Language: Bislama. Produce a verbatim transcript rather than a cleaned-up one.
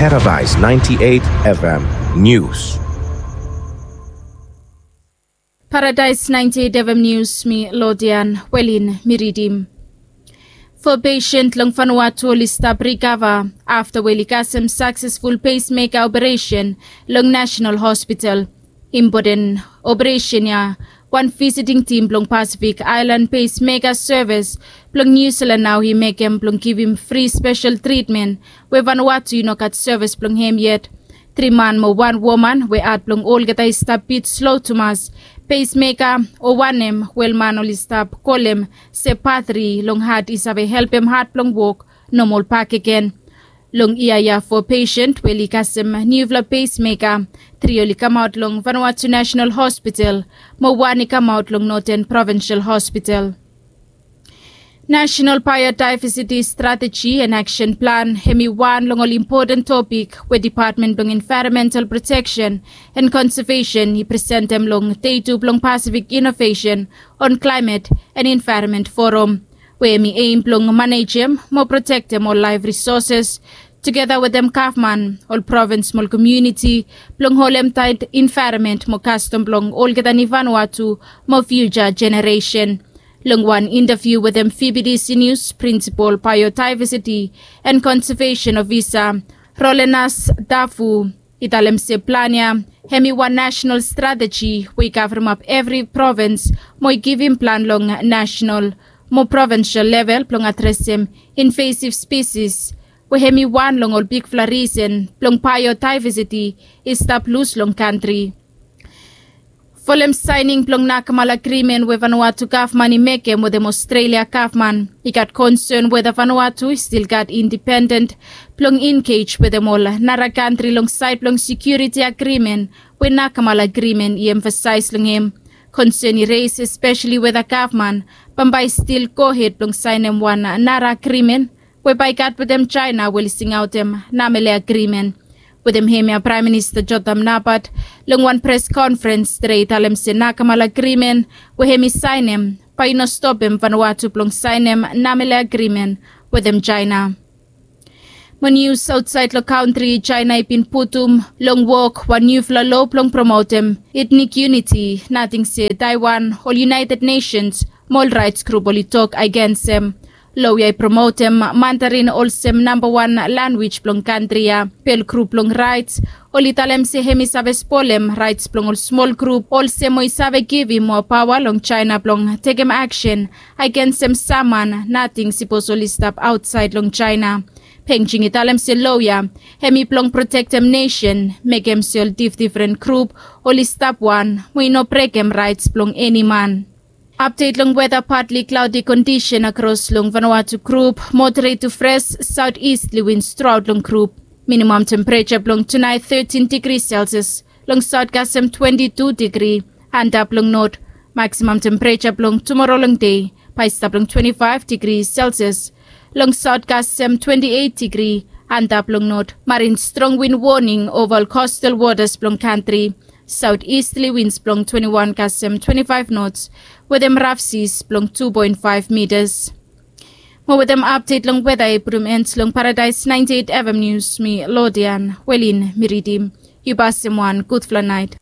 Paradise ninety-eight F M News. Paradise ninety-eight F M News, mi Lodian Welin, mi ridim. Fo pesen long Vanuatu oli stap rikava afta we oli kasem saksesful pacemaker operation long National Hospital. Impoten operation ya, wan visiting tim blong Pacific Island Pacemaker Service blong New Zealand nao i mekem blong givim fri spesel tritmen we Vanuatu i no gat sevis blong hem yet. Tri man mo wan woman we at blong olgeta i stap bit slo tumas. Pacemaker o wanem we man oli stap kolem se patri long hat i save helpem hat blong wok nomol bakegen. Long yia ya fo pesen we oli kasem niufala pacemaker, tri oli kamaot long Vanuatu National Hospital mo wan i kamaot long Northern Provincial Hospital. National Biodiversity Strategy and Action Plan, hem i wan long ol impoten topik we Department blong Environmental Protection and Conservation i presentem long dei tu blong Pacific Innovation on Climate and Environment Forum, we hem i eim blong manejem mo protektem ol laef risoses tugeta wetem gavman, ol provins mo ol komuniti, blong holem taet envaeronment mo kastom blong olgeta ni Vanuatu mo fiuja jeneresen. Long wan intaviu wetem V B D C News, Prinsipol Biodiversity and Conservation Ofisa Rolenas Dafu i talem se plan ya hem i wan nasenal strateji we i kavremap evri provins mo i givim plan long nasenal mo provinsel level blong adresem invasiv spesis, we hem i wan long ol bigfala risen blong biodiversity i stap lus long kantri. Folem saening blong nakamal agrimen we Vanuatu gavman i mekem wetem Ostrelia gavman, i gat konsen weta Vanuatu i stil gat indipenden blong engej wetem ol nara kantri long saed blong sekiuriti agrimen we nakamal agrimen i emfasaes long hem. Konsen i res espeseli weta gavman bambae i stil gohed blong saenem wan nara agrimen we bae i gat wetem Jaena we oli singaotem Namele Agrimen. Wetem hemia Praem Minista Jotam Napat long wan pres konferens tede i talem se nakamal agrimen we hem i saenem bae i no stopem Vanuatu blong saenem Namele Agrimen wetem Jaena. Mo nius aotsaed long kantri, Jaena i bin putum long wok wan niufala loa blong promotem etnik yuniti, nating se Taiwan, ol United Nations mo ol raets grup oli tok agensem. Loa ya i promotem Mandarin olsem nambawan lanwis blong kantri ya. Bel grup blong raets oli talem se hem i save spolem raets blong ol smol grup olsem mo i save givim moa paoa long Jaena blong tekem aksen agensem sam man nating sipos oli stap aotsaed long Jaena. Pengjing i talem se loa ya hem i blong protektem nesen, mekem se ol difdifren grup oli stap wan mo i no brekem raets blong eni man. Apdet long weta: patli klaodi kondisen akros long Vanuatu grup, moderet tu fres saotistli wins truaot long grup. Minimam tempereja blong tunaet tetin digri Selsias, long saot kasem twenti tu digri antap long not. Maksimam tempereja blong tumora long dei bae i stap long twenti faef digri Selsias, long saot kasem twenti eit digri antap long not. Marin strong win woning ova ol kostal wotas blong kantri. Saotistli wins blong twenti wan kasem twenti faef nots wetem raf sis blong tu poen faef mitas. Mo wetem apdet long weta i putum en long Paradaes naenti eit F M Nius, mi Lodian Welin mi ridim. Yu pasem wan gudfala naet.